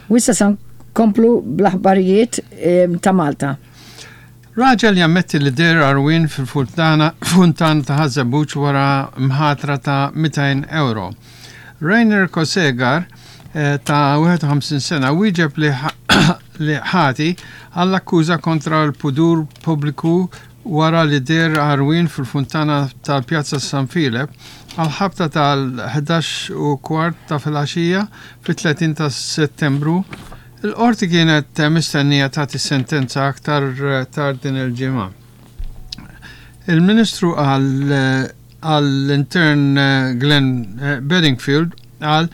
U issa sa nkomplu bl-aħbarijiet ta' Malta. Raġel jammetti li deher għarwien fil-funtana ta' Ħaż-Żebbuġ wara mħatra ta' 200 ewro. Rainer Kosegar ta' 51 sena wieġeb li ħati għall-akkuża kontra l-pudur pubbliku wara li deher għarwien fil-funtana tal-Pjazza San Filep għall-ħabta tal-11 u kwart ta' filgħaxija fit-30 ta' Settembru. Il-Qorti kienet mistennija tagħti sentenza aktar tard din il-ġimgħa. Il-Ministru għall-Intern Glenn Bedingfield qal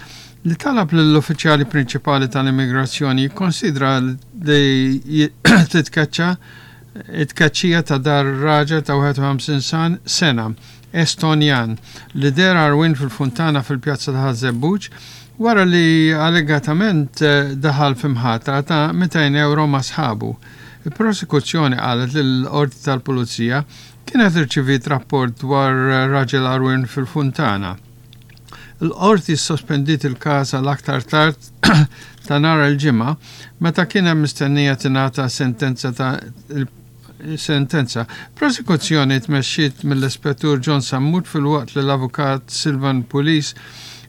li talab lill-uffiċjali prinċipali tal-immigrazzjoni jikkonsidra li titkeċċa it-tkeċċija ta' dar raġel ta' 51 sena Estonjan li deher għarwien fil-funtana fil-Pjazza ta' Ħaż-Żebbuġ wara li allegatament daħal fi mħatra ta' 200 ewro ma' sħabu. Il-Prosekuzzjoni qalet li l-Qorti tal-Pulizija kienet irċiviet rapport dwar raġel għarwien fil-funtana. Il-Qorti ssospendiet il-każ għal aktar tard ta' nhar il-Ġimgħa meta kien hemm mistennija tingħata sentenza ta' sentenza. Prosekuzzjoni tmexxiet mill-Ispettur John Sammut filwaqt li l-Avukat Silvan Pulis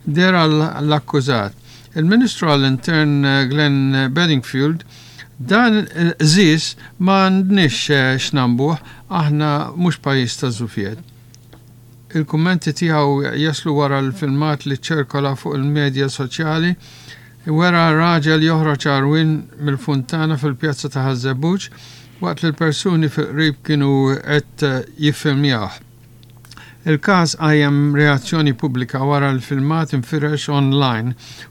deher għall-akkużat. Il-Ministru għall-Intern Glenn Bedingfield dan il-qżież ma għandniex x'nambuh, aħna mhux pajjiż ta' żufjett. Il-kummenti tiegħu jaslu wara l-filmat li ċċirkola fuq il-medja soċjali wera raġel joħroġ għarwien mill-funtana fil-pjazza ta' Ħaż-Żebbuġ waqt li l-persuni fil-qrib kienu qed jiffilmjawh. Il-każ qajjem reazzjoni pubblika wara l-filmat infirex online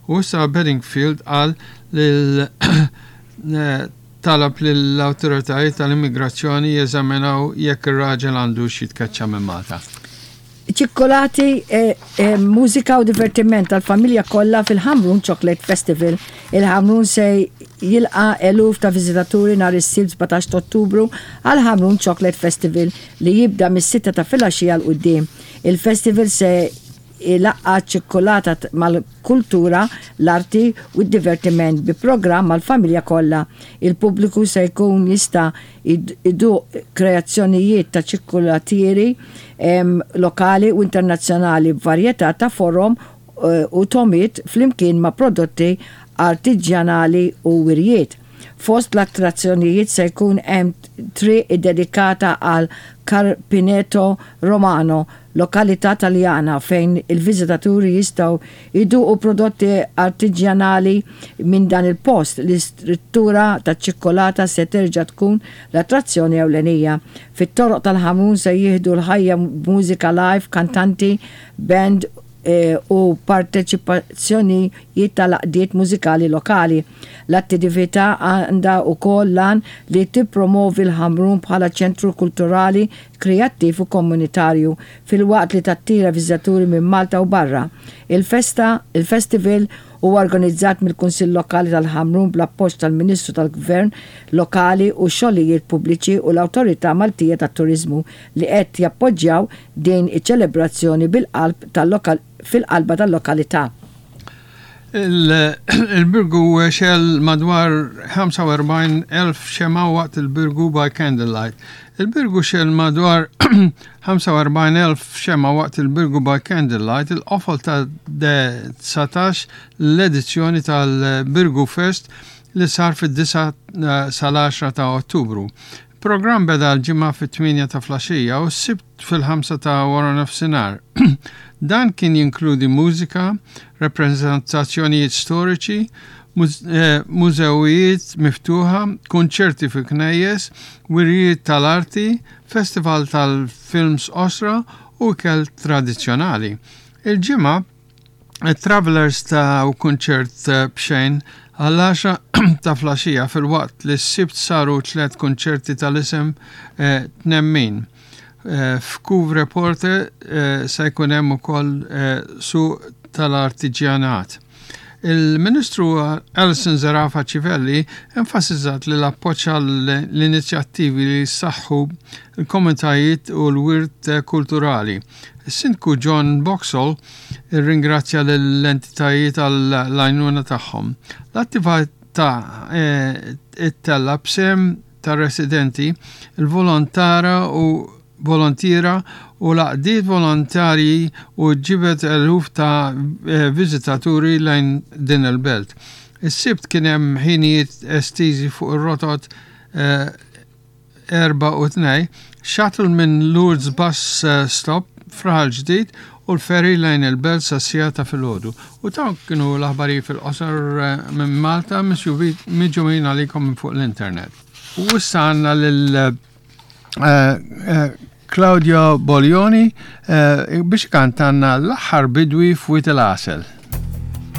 u issa Bedingfield qal lil talab lill-awtoritajiet tal-immigrazzjoni jeżaminaw jekk ir-raġel għandux jitkeċċa minn Malta. Ċikkulati, mużika u divertiment għall-familja kollha fil-Ħamrun Chocolate Festival. Il-Ħamrun se jilqa' eluf ta' viżitaturi nhar is-Sibt 17 ta' Ottubru għall-Ħamrun Chocolate Festival li jibda mis-sitta ta' filgħaxija 'l quddiem. Il-festival se ilaqqa' ċ-ċikkulata mal-kultura, l-arti u d-divertiment bi programm għall-familja kollha. Il-pubbliku se jkun jista' jduq kreazzjonijiet ta' ċikkulatieri lokali u internazzjonali b'varjetà ta' forom u togħmiet flimkien ma' prodotti artiġjanali u wirjiet. Fost l-attrazzjonijiet se jkun hemm triq iddedikata għal Carpineto Romano, lokalità Taljana fejn il-viżitaturi jistgħu jduqu prodotti artiġjanali minn dan il-post. L-istruttura taċ-ċikkulata se terġa' tkun l-attrazzjoni ewlenija. Fit-toroq tal-Ħamrun se jieħdu l-ħajja b'mużika live, kantanti, band u parteċipazzjonijiet tal-għaqdiet mużikali lokali. L-attività għandha wkoll l-għan li tippromovi l-Ħamrun bħala ċentru kulturali, kreattiv u komunitarju, filwaqt li tattira viżitaturi minn Malta u barra. Il-festa, il-festival huwa organizzat mill-Kunsill Lokali tal-Ħamrun bl-appoġġ tal-Ministru tal-Gvern Lokali u x-Xogħlijiet Pubbliċi u l-Awtorità Maltija tat-Turiżmu li qed jappoġġjaw din iċ-ċelebrazzjoni bil-qalb fil-qalba tal-lokalità. Il-Birgu xegħel madwar 45,000 xemgħa waqt il-Birgu by Candlelight. Il-Birgu xegħel madwar 45,000 xemgħa waqt il-Birgu by Candlelight, il-qofol ta' 19 l-edizzjoni tal-Birgu Fest li sar fid-9 sal-10 ta' Ottubru. Il-programm beda l-Ġimgħa fit-tmienja ta' flaxija u s-Sibt fil-ħamsa ta' waranofsinhar. Dan kien jinkludi mużika, rappreżentazzjonijiet storiċi, mużewijiet miftuħa, kunċerti fi knejjes, wirjiet tal-arti, festival tal-films qosra u ikel tradizzjonali. Il-Ġimgħa, It-Travellers taw kunċert b'xejn għall-għaxra ta' flaxija filwaqt li s-Sibt saru tlett kunċerti tal-isem Tnemmin. F'Couvre Porte se jkun hemm ukoll suq tal-artiġjanat. Il-Ministru Alison Zerafa Civelli enfasizzat li l-appoġġ għall-inizjattivi li jsaħħu l-komunitajiet u l-wirt kulturali. Is-Sindku John Boxall irringrazzja lill-entitajiet għall-għajnuna tagħhom. ta' ttella' b'sehem tar-residenti, il-volontara u volontiera u l-għaqdiet volontarji u ġibed eluf ta' viżitaturi lejn din il-belt. Is-Sibt kien hemm ħinijiet estiżi fuq ir-rotot 4 u 2, shuttle minn Lourdes Bus Stop f'Raħal Ġdid u l-ferry lejn il-belt sas-siegħa ta' filgħodu. U dawn kienu l-aħbarijiet fil-qosor minn Malta miġjumin għalikom minn fuq l-internet. U issa għandna lil Claudio Boglioni biex ikantanna l-aħħar bidwi f'Wied il-Għasel.